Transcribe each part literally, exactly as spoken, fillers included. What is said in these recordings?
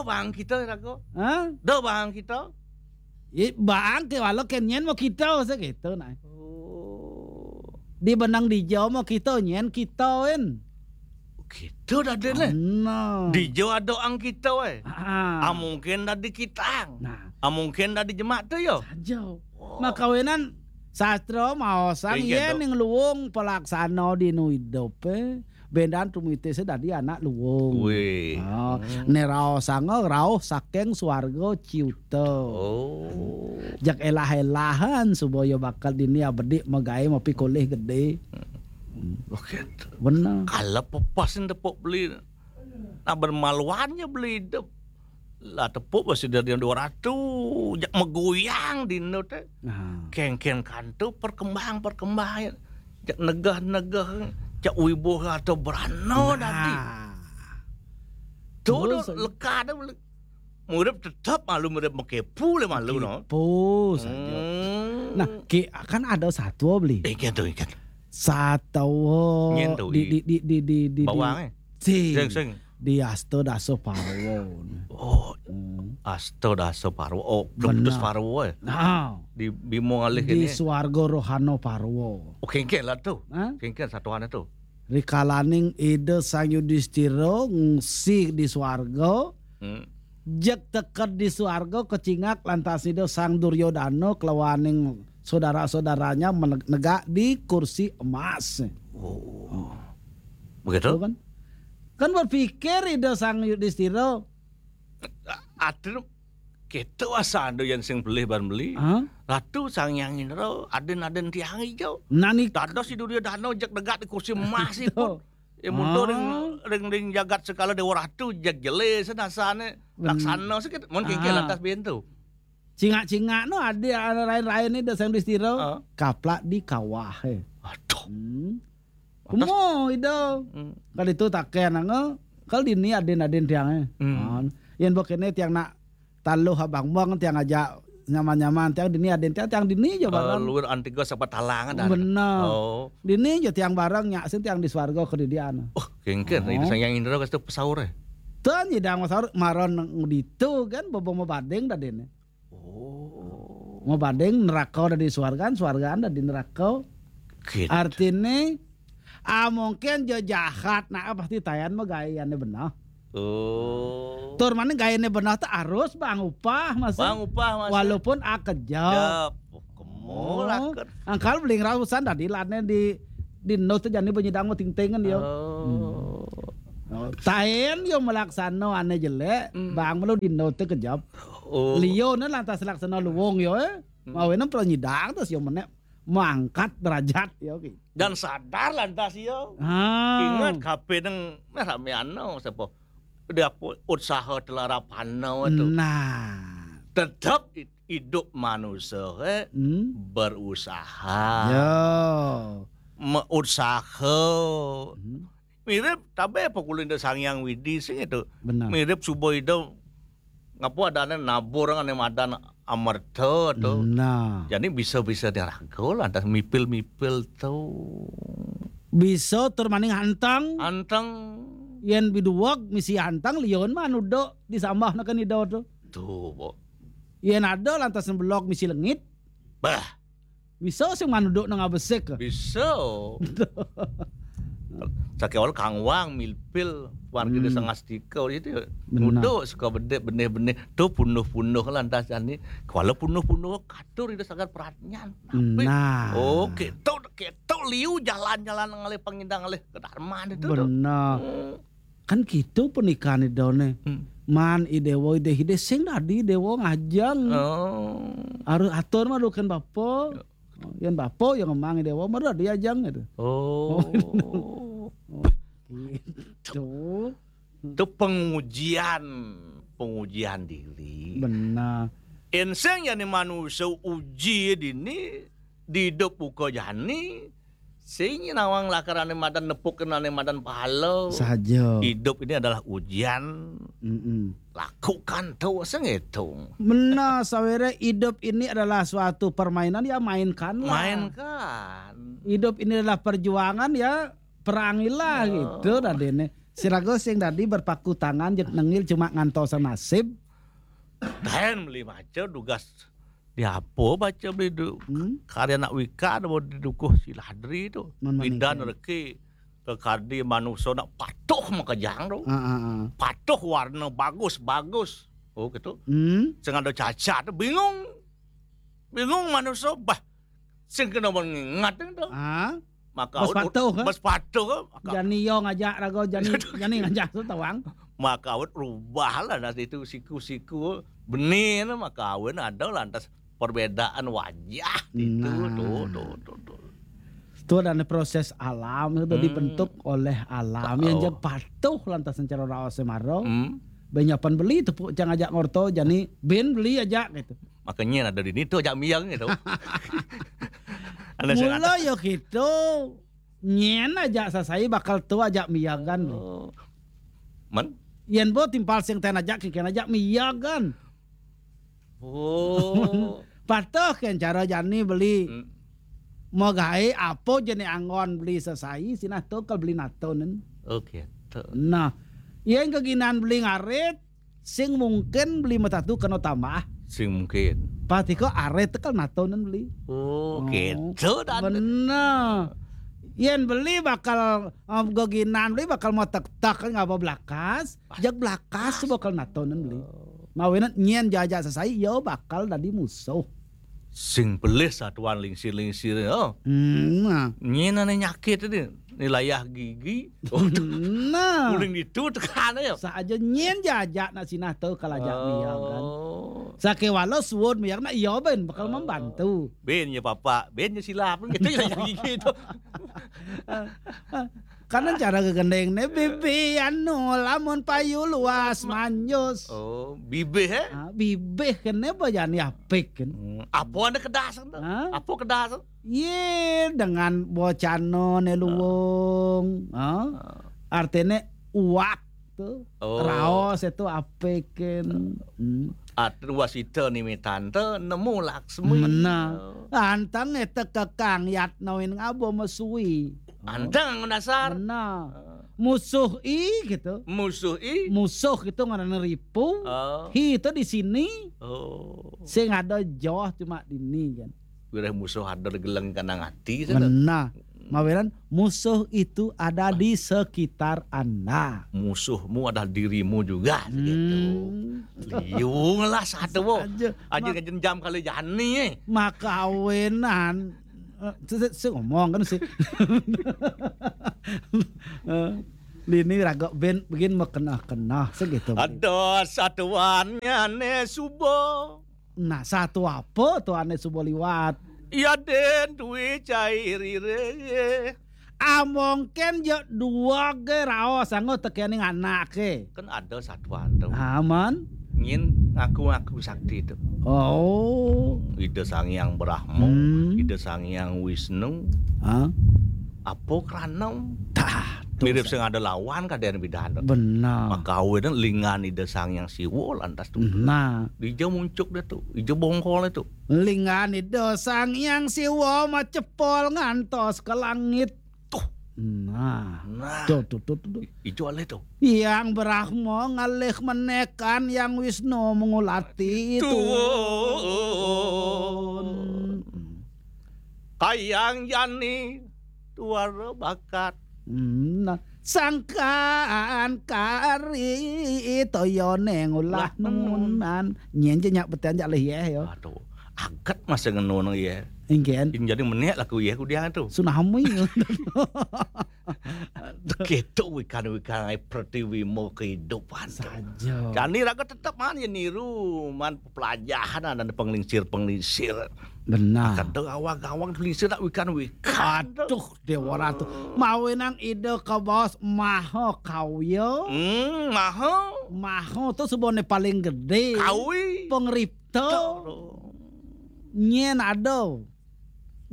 bang kita, Rago. Hah? Dah bang kita. Ih, bang ke walau ke nyen mau kita, saya gitu, nah. Oh. Di benang di jauh mau kita, nyen kita, en. Kita dah ada, leh. Nah. Di jauh ada ang kita, eh. Ah. Ah, mungkin dah di kita. Nah. Ah, mungkin dah di jemak tu, yo. Saja. Oh. Makawinan sastra mau sang Iya, yen dong. Ning luwung pelaksana dinu idup, eh. Bendan tumite se dadi anak luwung. Wih. Oh, Hmm. Neraosanga rauh saking swarga ciuta. Oh. Jak elah-elahan supaya bakal dini abedik megawe mapikolih gede. Oke. Bener. Kalau pepasin tepuk beli. Nah, bermaluannya beli hidup. Lah tepuk masih dari dua ratus, jak megoyang dino te. Nah. Kengken kantu perkembang-perkembangan. Jak negah-negah, jak wibuh atau berano Nah. Dadi. Tu Terus, tu leka ada boleh. Murid tetap malu, murid mekepu le malu no. Kepo saja. Hmm. Nah, ke, kan ada satu beli. Ikan tu, ikan. Satu Nyen tu, di, i. Di, di, di, di, di, Bawang, di, eh? Sing. Sing, sing. Di Asta Dasa Parwa. Oh, Hmm. Asta Dasa Parwa. Oh, Benar. Plutus Parwa, eh? Nah. Di Bimo ngalih Di ini. Swarga Rohana Parwa. Oh, kengken lah tu. Hah? Kengken satuan tu. Rikalaning Ida Sang Yudistira ngungsi di swarga, Hmm. jek teked di swarga kecingak lantas Ida Sang Duryodana kelawaning saudara-saudaranya meneg-, negak di kursi emas. Oh. Begitu? Tuh kan? Kan berpikir Ida Sang Yudistira. Atur kita asando yang sing beli ban beli. Hah? Ratu Sang Hyang Indra, aden-aden tiang hijau. Nani Dados si Duryodana jek negak di kursi emas Tuh. ipun. Ya mudo ring, Ah. Ring, ring jagat sekala Dewa Ratu, jeg jelas nasane. Ben- Laksana sikit. Mun kiki Ah. Lantas bintu. Cingak-cingak no ada lain-lain ni Ida Sang Yudistira. Ah. Kaplak di kawah, eh. Aduh. Hmm. Lantas Kumo, Ida. Hmm. Kali itu taken, nga. Kal dini aden-aden tiang, eh. Hmm. Ah. Yen bokene tiang nak taluh abang bang tiang aja nyaman-nyaman tiang dini aden tiang, tiang dini aja bareng. Luar antiga sapa talangan dah. Bener. Oh. Dini aja tiang bareng nyak sin tiang di swarga kedidian. Oh, kengken. Oh. Itu Sang Hyang Indra kasih pesaur, eh. Tuh nyidang pesaur maron ngeditu kan bobong mabading dah dene. Oh. Mabading neraka dah di swargaan, swargaan dah di neraka. Gitu. Artine, ah, mungkin jo jahat, nah pasti tayan mah gayane benah. Oh. Tur mana gayane benah tuh harus bang upah masih. Bang upah masih. Walaupun akejap. Jep. Oh, kemul akar. Angkal beling rausan tadi lane di di no tuh jani penyidang mau ting-tingan yo. Oh. Hmm. Oh, taen yo melaksano ane jelek, Hmm. Bang melu di no tuh kejap. Oh. Lio ne lantas laksana luwung yo, eh. Hmm. Mawene penyidang terus yo menek mangkat derajat yo ki. Dan sadar lantas yo. Ah. Ingat kape neng nah, rameano sapa? Dia pu-, usaha telarapano itu. Nah. Tetap i-, hidup manusia, eh, Hmm. Berusaha. Ya. Me-, usaha. Hmm. Mirip tabe apa kulinda Sang Hyang Widi sing itu. Benar. Mirip suba ida ngapa adane nabur ngane madan amerta tu. Nah. Jadi bisa-bisa diraga lantas mipil-mipil tu. Bisa tur maning hantang. Hantang. Yen biduweg misi hantang lion mah anu dok disambah neken ida tu. Tuh, Bo. Yen ada lantas belok misi lengit. Bah. Bisa sing manuduk nang abesik. Bisa. Sakewal kangwang milpil warga Hmm. Desa Ngastika itu ya. Benar. Nuduk suka bedek benih-benih tu punuh-punuh lantas jani. Kuala punuh-punuh katur itu sangat peratnya. Nah. Oh, ketok ketok liu jalan-jalan ngalih pangindang ngalih ke Darman itu tu. Benar. Hmm. Kan gitu pernikahan idone. Hmm. Man idewo ide hide sing dadi dewo ngajeng. Oh. Harus atur mah dukan bapa. Ya. Yen bapa yang ngemang idewo mah dadi ajeng gitu. Oh. Oh, gitu. Itu pengujian, pengujian diri. Benar. Yen sing jani manusia uji dini, dihidup buka jani, sing nawang lakarane madan nepuk kenane madan pahala. Saja. Hidup ini adalah ujian. Mm-mm. Lakukan tu sengitung. Benar, sawere hidup ini adalah suatu permainan, ya mainkanlah. Mainkan. Hidup ini adalah perjuangan, ya perangilah Oh. gitu dadene. Si raga sing dadi berpaku tangan jeg nengil cuma ngantos nasib. Ten beli maca dugas di apa baca beli du, hmm? Karya anak Wika ada di dukuh si Ladri tu. Pidan reki ke kadi manusia nak patuh makejang tu. Ah, ah, ah. Patuh warna bagus-bagus. Oh gitu. Hmm? Sing ada cacat tu bingung. Bingung manusia bah. Sing kena mengingat tu. Ah? Maka bas patuh, ha? Bas patuh, ha? Maka jani yo ngajak raga jani, jani ngajak tu tawang. Maka awet rubah lah nanti itu siku-siku benih maka awet ada lantas perbedaan wajah itu nah. Tuh, tuh, tuh, tuh. Itu adalah proses alam itu hmm. Dibentuk oleh alam yang oh. Yang patuh lantas cara raos maro. Hmm. Benyapan beli tepuk cang ajak ngorto jani bin beli aja gitu. Makanya ada di itu ajak miang gitu. Mula yo gitu. Nyen aja sasai bakal tu aja miagan. Oh. Man? Yen bo timpal sing ten aja kikian aja miagan. Oh. Patuh ken cara jani beli. Hmm. Mau gae apa jenis anggon beli sasai sinah tu kal beli natonen. Oke. Okay. Nah, yen keginan beli ngarit sing mungkin beli matatu kena tambah. Sing mungkin. Pasti kok arit kal natonen beli. Oh, oh. Gitu dan. Bener. Yen beli bakal um, geginan beli bakal mau tek-tek kan ngapa belakas. Ah. Jak belakas bakal natonen beli. Oh. Mawinan nyen jajak sesai yo bakal dadi musuh. Sing pelih satuan lingsir-lingsir yo. Hmm, nah. Nyen ane nyakit ini. Ni layah gigi. Nah. Uling itu tekan ya. Saja nyen jajak nak sinah tu kalau ajak oh. Dia kan. Sake walau suwun miak nak iya ben bakal oh. Membantu. Ben ya papa, ben ya silap gitu ya gigi itu. Karena cara kegendeng ne bibi anu lamun payu luas manjus. Oh, bibi he? Ah, bibi kene bajani apik kan. Hmm, apa ada kedas tu? Hah? Apa kedas tu? Ye dengan bocano ne luwung. Ah. Artine uak tu. Oh. Raos itu apik kan. Hmm. Atru wasita nimitan tu nemu Laksmi. Mena. Oh. Antang eta kekang yat nawin ngabo mesui. Antang dasar. Mena. Musuh i gitu. Musuh i. Musuh itu ngaran ripu. Oh. Hi itu di sini. Oh. Sing ada joh cuma di ini kan. Wireh musuh ada di geleng kanang hati sana. Mena. Mawinan musuh itu ada di sekitar Anda. Musuhmu adalah dirimu juga gitu. Hmm. Liung lah satu. Aja. Aja ma- ngejenjam kali jani eh. Makawinan. Eh, se- se- se- ngomong kan sih. Eh, Lini raga ben begin makenah-kenah segitu. Ada satuannya ne subo. Nah, satu apa tu ane subo liwat? Ya den duwe cairire. Amongken je dua ge raos anggo tekening anake. Kan ada satuan tu. Aman. Ngin ngaku-ngaku sakti tu. Oh. Ida Sang Hyang Brahma, hmm. Ida Sang Hyang Wisnu. Hah? Apa keranem? Tah, mirip sing ada lawan kaden bidan. Benar. Maka awena lingan Ida Sang Hyang Siwa lantas tu. Nah. Dija muncuk dia tu, ija bongkol itu. Lingan Ida Sang Hyang Siwa macepol ngantos ke langit. Tuh. Nah. Nah. Tuh, tuh, tuh, tuh. Ijo alih tuh. Yang Brahma ngalih menekan yang Wisnu mengulati itu. Tuh. Kayang jani tuara bakat. Hmm, nah. Sangkan kari toyone ngulah nunan. Nyen je nyak beten jak leh yeh yo. Aduh, aget masa ngenun yeh. Ingken. Ini jadi menek laku yeh kudiang tu. Tsunami. Ketok wikan-wikan ai pertiwi mau kehidupan tu. Saja. Jani raga tetap man ya niru man pelajahan ada penglingsir-penglingsir. Benar. Akan tu awak-awak penglingsir nak wikan-wikan. Aduh. Dewa Ratu. Mawenang ide kabaos maha kawya. Hmm, maha. Maha tu sebone paling gede. Kawi. Pengripta. Nyen ada.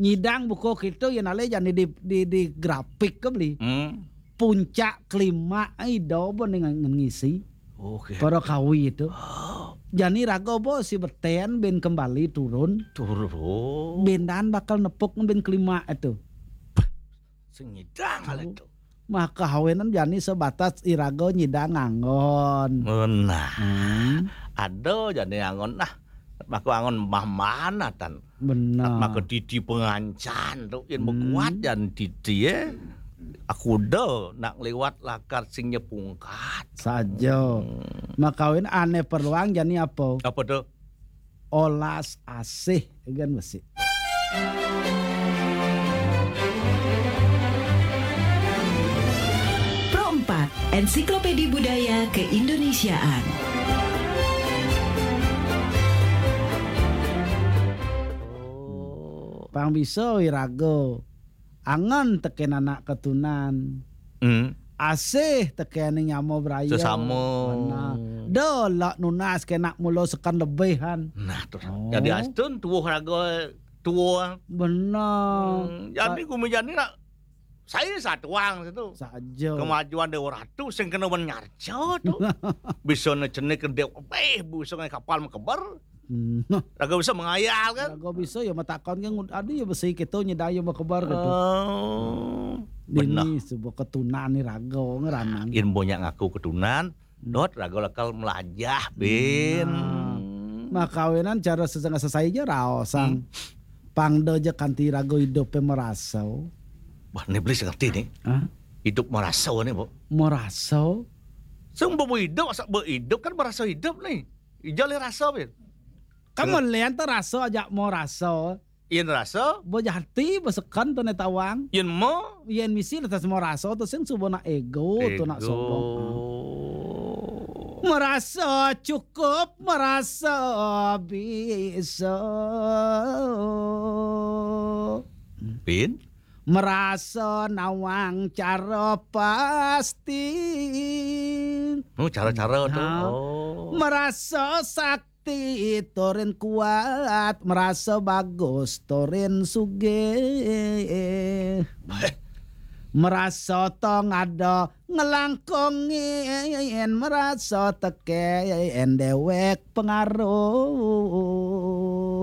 Nyidang buku kita yen ale jani di, di, di grafik ke beli. Hmm. Puncak klima ida bo ning ngisi. Oke. Para kawi itu. Jani raga bo si beten ben kembali turun. Turun. Bendan bakal nepuk ben klima itu. Sing nyidang kali itu. Maka awinan jani sebatas iraga nyidang anggon. Nah, hmm, ada jani anggon. Nah, maka anggon mah mana tan? Benar. Maka titi pengancan tu, yang hmm, bekuat dan titi, eh. Aku dah nak lewat lakar sing nyepungkat. Saja. Hmm. Maka awinan ane perluang jani apa? Apa tu? Olas asih, kan besi. Pro empat, Ensiklopedi Budaya Keindonesiaan. Oh. Pang bisa wiraga. Angen teken anak ketunan. Hmm. Asih teken nyama beraya. Sesama. Benar. Dah lah nunas kena mula sekan lebihan. Nah, tu. Oh. Jadi astun tuah raga tua. Benar. Hmm, jadi gumi jani nak saya satuang situ. Saja. Kemajuan Dewa Ratu sing kena menyarca tu. Bisa ne cenik ke dewa, eh, bisa ngai kapal mekeber. Hmm. Raga bisa mengayal kan? Raga bisa ya matakon kan, ada ya besi kita nyedaya mekeber gitu. Oh. Dini benar. Sebuah ketunan ni raga ngeranang. Yen banyak ngaku ketunan, hmm, dot raga lakal melajah, Bin. Nah. Makawinan cara sesengah sesai aja raosang. Hmm. Pangda aja kanti raga hidup merasa. Wah, ni beli ngerti ni. Hah? Hidup merasa ni, Bu. Merasa? Sing behidup, asa behidup kan merasa hidup ni. Ija le rasa, Bin. Kan melian tu rasa aja mau rasa. Yen rasa? Bejati, besekan tu ne tawang. Yen mo? Yen misi letas mau rasa tu sing suba nak ego, tu nak sombong. Merasa cukup, merasa bisa. Bin? Merasa nawang cara pasti. Oh, cara-cara tu. Ha. Oh. Merasa sakti turin kuat, merasa bagus turin sugih. Merasa tong ada ngelangkongin, merasa teken dewek pengaruh.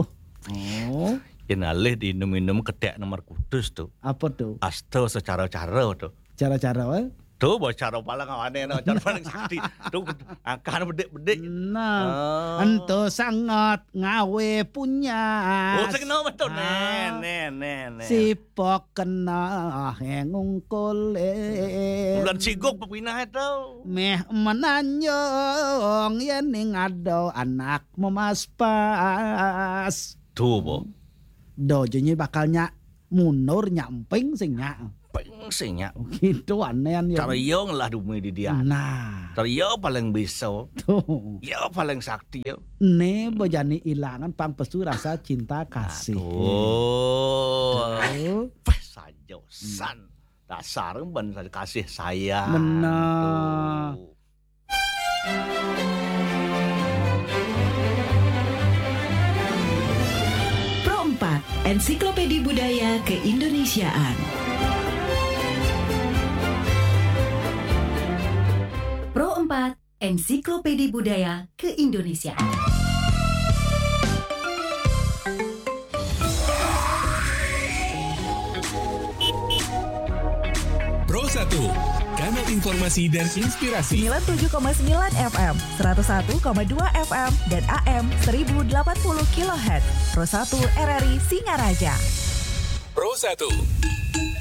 Oh. Yen alih diinum-inum ketek nomor kudus tu. Apa tu? Asta secara-cara tu. Cara-cara, eh? Tu, bah, cara paling awane, no, cara paling sakti. Tu, angkahane bedik-bedik. Nah, ah, ento sangat ngawe punya. Oh, sing no betul. Ah. Nen, nen, nen, nen. Sipok kena ngungkule. Bulan sigok pepinah itu. Meh menanjung yen ning ada anak memaspas. Tu, bo. Do jenyi bakal nyak mundur, nyak emping sing nyak. Emping sing nyak. Gitu anehan ya. Cara iya ngelah dumi di dia. Nah. Cara iya paling bisa. Tuh. Iya paling sakti ya. Ne bejani ilangan pang pesu rasa cinta kasih. Aduh. Tuh. Pas saja san. Dasar ban kasih sayang. Benar. Tuh. Pro empat, Ensiklopedi Budaya Keindonesiaan. Pro empat, Ensiklopedi Budaya Keindonesiaan. Pro satu, kanal informasi dan inspirasi. Sembilan tujuh koma sembilan F M, seratus satu koma dua F M, dan A M seribu delapan puluh kilohertz. Pro satu R R I Singaraja. Pro satu,